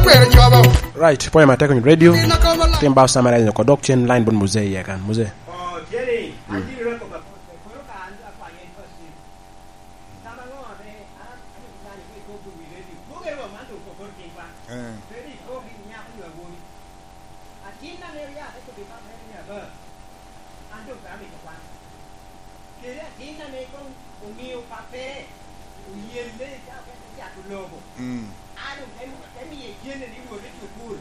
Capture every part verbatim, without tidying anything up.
Right, pwoyo matek onyo radio. Tim ba osama radio ko dok cen line bon muzee iye kan. Muzee. Kede atin ame koŋ omio pappere oyelle ka oketo cato lobo. Mm. A doŋ te, te miye cene ni wot i cukul,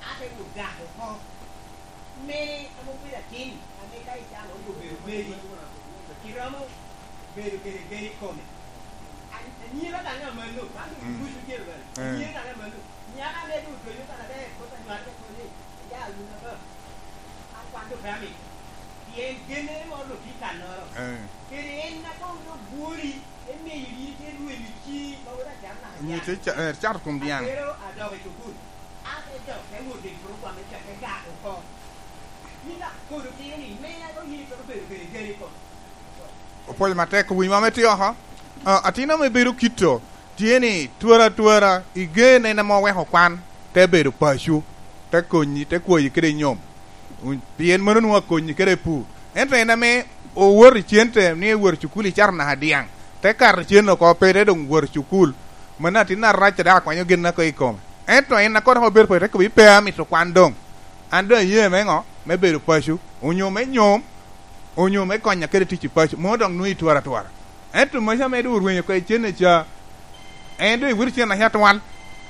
a te wot gak oko. Me ame obedo atin, ame ka icano ni obedo meri, iromo bedo kede gen i kome. An-, anyira daŋ amanno, man doŋ, mm, ducu tye bene. Eh. Anyira daŋ amanno. Nyaka ame doŋ odonyo kan aber, kop anywal me koni, ya wun aba. Akwano Dami, pien gennere moro doŋ tye i kannoro. Eh. Kede en a koŋ doŋ bwori, emiyo yin te rwenyo ci, ma wot acam naka. Nyo te ca-, eh, cato kom dyaŋ. Atero adok i cukul. Ate dok te wot i program me cak te gak oko. Yin dok kodo tino ni, mena doŋ yin itwero bedo kede geni kom. Opwoyo matek, owinyo ame tye oko. Ah, atin ame bedo kito, tye ni twara twara, i gen en ame oweko kwan, te bedo paco, te konyi, te kwoyi kede nyom. Un-, pien mano nwoŋo akonyi kede pur. Ento en ame owoto i cente, ni ewot i cukul i caro naka dyaŋ, te kato cen oko, pe te doŋ wot i cukul. Mano atin arac a dok akwanyo gin oko i kome. Ento en a kono obedo paco, te kobbi, "Pe amito kwan doŋ. An doŋ aye me ŋo? Me bedo paco, onyo me nyom, onyo me konya kede tic i paco, mano doŋ nwoŋo itwara atwara." Ento maca ame doŋ orwenyo oko i cene ca, en doŋ ewito cen aca atwal,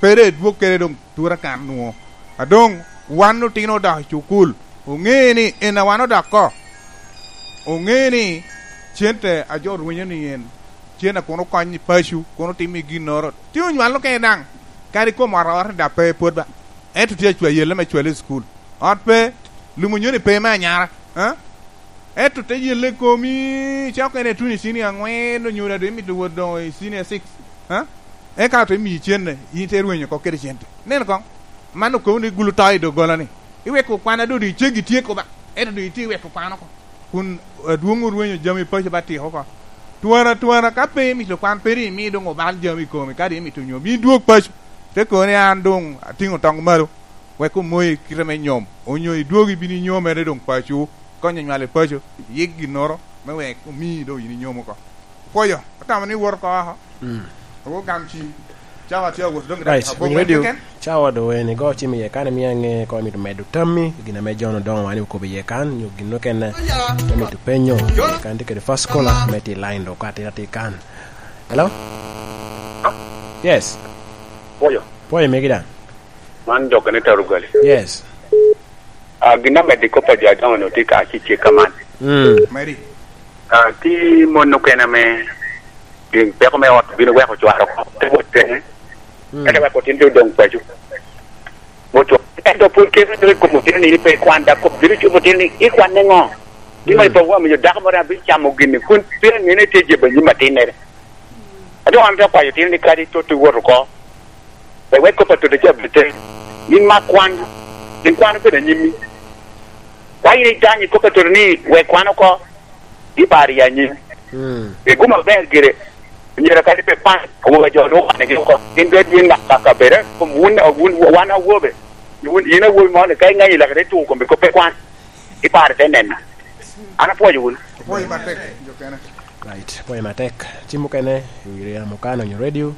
pe doŋ edwog kede doŋ tura kan nwoŋo. A doŋ wan otino odok i cukul, oŋe ni en a wan odok oko, oŋe ni cente a jo rwenyo ni en, cen a kono konyo i paco, kono timo i ginnoro. Tye onywal okene daŋ, kadi kom ot ot ni dap pe pwod ba. Ento tye acwa yelle me cwale i cukul. Ot pe, lum onyo ni pe me anyara, ha? Ento te yelle komi, cako en etuno i cinia aŋwen, onyo daŋ doŋ imito wot doŋ i cinia six, ha? Eka te miyi cenne, in te rwenyo oko kede cente. Nen koŋ, man okobo ni gulu to i doggola-ni. Iweko kwan a doŋ iceggi tye koba, ento doŋ itye iweko kwan oko. Kun adwoŋ orwenyo jami paco ba tiko oko. Twara, twara, ka pe imito kwan, pe doŋ imi doŋ obal jami i komi, kadi imito nyo, mi dwog paco. Te kono ni an doŋ atiŋo toŋ malo, wek omoyi kite me nyom, onyo idwogi bino inyomere doŋ paco, konyo nywal i paco, yik ginnoro, me wek omi doŋ yin inyom oko. Pwoyo, atamo ni iwot oko oko. Mm. Awo gam ci. Cawa tye awot doŋ. Right, abok winy radio, keken. Cawa doŋ en igo cim iye kan, imio aŋe ko imito medo tammi, gin ame John Odongo wan okobo iye kan, nyo gin okene me mito penyo, kan tye kede first caller, me tye line doŋ ka tye atir kan. Hello? Yes. Pwoyo. Pwoyo megi daŋ. Man dok ni Tarugali. Yes. Ah, gin amedde kop a jo adoŋo-nu tye ka cicek kaman. Mm. Mary. Ah, tye mon okene ame gin peko me ot bino weko cware oko, te wot tene. Mm. Ento weko tin te odoŋ paco. Wot cware. Ento pwod kene i kom otino ni pe ikwan, dok kop bino cubo otino ni, "Ikwanne ŋo? Gin ma, mm, ipawu amiyo dako moro abino camo gini, kun pe aŋeo ni tye jebbi anyim atinnere." A doŋ an te kwayo otino ni kadi tot iwot oko, wek, wek kop a toto ca bite. Yin mak kwan, yin kwan obedo anyimmi. Ka yin idanyo i kop a toto ni wek kwan oko, ibaro i anyim. Mm. Pi gum aber gire, myero kadi pe kwan, awobe a jo lwoko wanigi oko. Gin doŋ yin mak kaka bere, kom wun, wun, wan awobe. Wun, yin awobi moni, ka iŋenyo lake te tuko kombi kop pe kwan, ibaro te nena. An apwoyo wun. Apwoyo matek, jo kene. Right, apwoyo matek. Cim mukene, i wi yamo kan onyo radio,